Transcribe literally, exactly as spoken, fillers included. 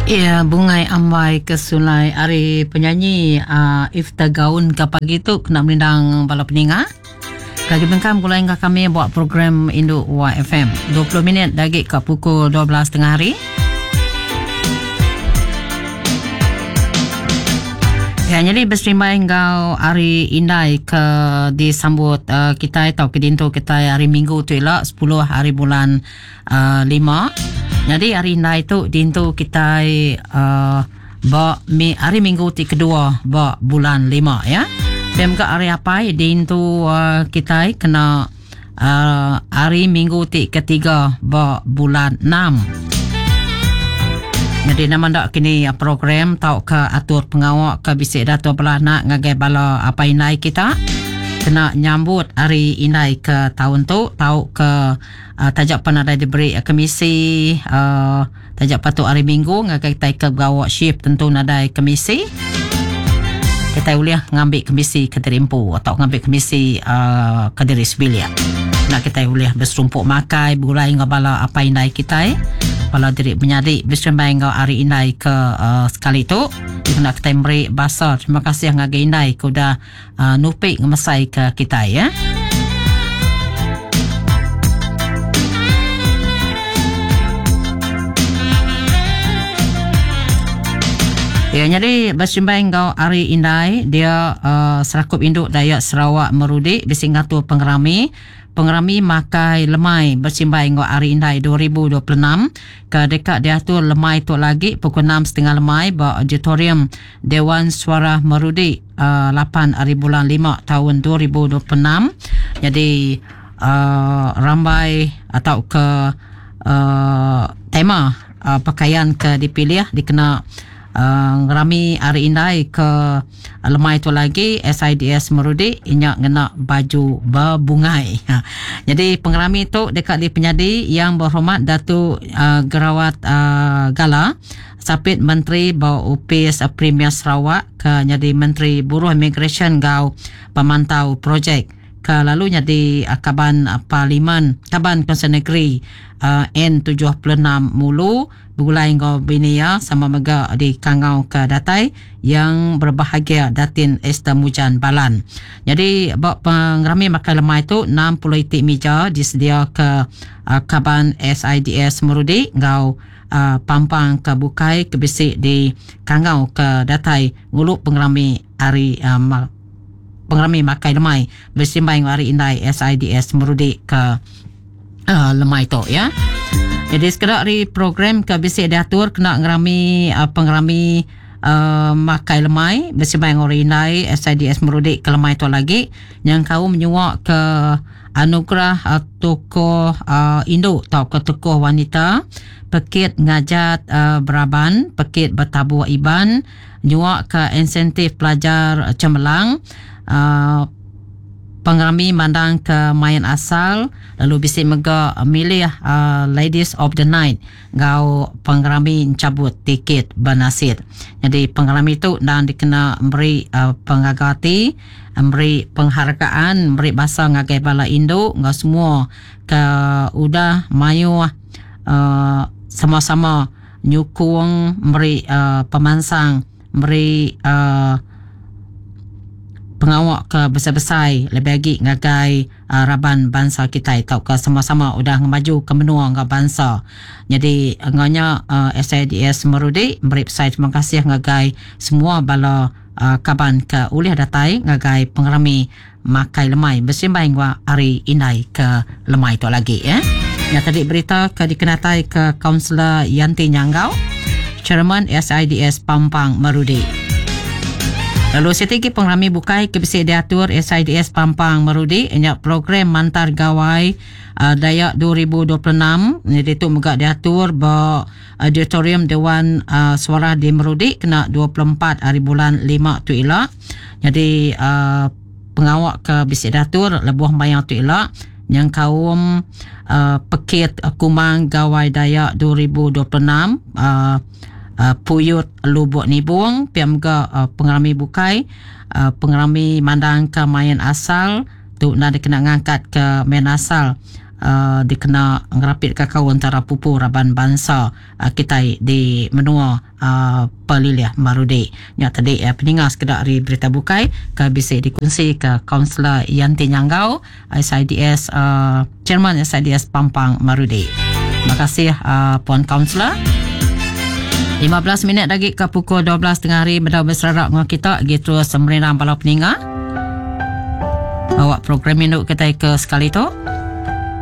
Ya, Bungai Ambai Kesulai ari penyanyi uh, Ifta Gaun ke pagi tu kena melindang bala peninga. Kagi bengkam gulai enggau kami buat program Indu Y F M. dua puluh minit lagi ke pukul dua belas tengah hari. Ya, jadi berserimbai enggau hari Indai ke disambut uh, kita atau ke dintu kita hari Minggu tu ila sepuluh hari bulan uh, lima. Jadi hari Indai tu dintu kita uh, ba mi, hari Minggu ti kedua ba bulan lima ya. Dan ke hari apai dintu uh, kita kena uh, hari Minggu ti ketiga ba bulan enam. Jadi nama ndak kini program tau ke atur pengawak ke bisik datuk belah nak ngagai bala apa indai kita kena nyambut hari indai ke tahun tu tau ke uh, tajak panadai diberi uh, kemisi uh, tajak patut hari Minggu ngagai kita ke gawak shift tentu nadai kemisi kita boleh ngambil kemisi ke diri empu atau ngambil kemisi uh, ke diri sebilik nak kita boleh berserumpuk makai bergulai dengan bala apa indai kita eh. Kalau diri menyadik bersembahyang ngau hari indai ke uh, sekali tu kena kita beri basa terima kasih ngagai indai ke udah uh, nupik ngemesai ke kita ya. Ya, jadi bersembahyang ngau hari indai dia uh, Serakup Induk Dayak Sarawak Merudi bisingatur pengerami pengerami makai lemai bersimbai ngau hari indai dua ribu dua puluh enam ke dekat diatur lemai tu lagi pukul enam setengah lemai ba auditorium Dewan Suara Merudi uh, lapan hari bulan lima tahun dua ribu dua puluh enam. Jadi uh, rambai atau ke uh, tema uh, pakaian ke dipilih dikena Uh, ngerami hari indai ke lemai tu lagi S I D S Merudi inyak ngena baju berbungai. Ha. Jadi pengerami tu dekat di penyadi yang berhormat Datuk uh, Gerawat uh, Gala Sapit Menteri Bau Upis uh, Premier Sarawak ke jadi Menteri Buruh Immigration gau pemantau projek ke lalu jadi uh, kaban uh, parlimen kaban Konsel Negeri uh, N tujuh puluh enam Mulu Begulai ngau binia sama mega di Kangau ke Datai yang berbahagia Datin Esther Mujan Balan. Jadi bak pengerami makan lemai tu enam puluh itik meja disedia ke uh, kaban S I D S Merudi ngau uh, pampang ke Bukai ke bisik di Kangau ke Datai nguluk pengerami hari uh, ma- pengerami makan lemai bersimbang hari indai S I D S Merudi ke uh, lemai tu ya. Jadi sekedar hari program ke bisik diatur kena ngerami uh, pengerami uh, makai lemai bersimbang hari indai S I D S Merudi ke lemai tu lagi yang kau menyuak ke anugerah uh, tokoh uh, induk atau ke tokoh wanita pekit ngajat uh, beraban pekit bertabuh iban nyuak ke insentif pelajar cemerlang uh, pengerami mandang ke main asal lalu bisik mega milih uh, ladies of the night ngau pengerami cabut tiket bernasid. Jadi pengerami tu dan dikena beri uh, pengagati, beri penghargaan, beri basa ngagai bala induk ngau semua ke udah mayu uh, sama-sama nyukung beri uh, pemansang, beri uh, pengawak ke besar-besar lebih lagi ngagai uh, raban bangsa kita atau ke sama-sama udah ngemaju ke menua ngau bangsa. Jadi nganya uh, S I D S Merudi beri besar terima kasih ngagai semua bala uh, kaban ke ulih datai ngagai pengerami makai lemai bersimbang wa hari indai ke lemai tu lagi ya. Ya tadi berita ke dikenatai ke Kaunselor Yanti Nyanggau, Chairman S I D S Pampang Merudi. Lalu setigi pengerami bukai ke bisik diatur S I D S Pampang Merudi inyak program Mantar Gawai uh, Dayak dua ribu dua puluh enam. Jadi tu megak diatur ba auditorium Dewan uh, Suara di Merudi kena dua puluh empat hari bulan lima tu ila. Jadi uh, pengawak ke bisik diatur lebuh mayang tu ila yang kaum uh, pekit uh, Kumang Gawai Dayak dua ribu dua puluh enam uh, Uh, Puyut Lubuk Nibung P M G uh, pengerami bukai uh, pengerami mandang ke main asal tu nak dikena ngangkat ke main asal uh, dikena ngerapit kakau antara pupu raban bansa uh, kita di menua uh, Pelilih Marudi. Nya tadi uh, peninga sekedar dari berita bukai ke bisa dikongsi ke Kaunselor Yanti Nyanggau S I D S uh, Chairman S I D S Pampang Marudi. Terima kasih uh, Puan Kaunselor. lima belas minit lagi ke pukul dua belas tengah hari benda berserak dengan kita gitu semerindang balau peninga. Awak program induk kita ke sekali tu.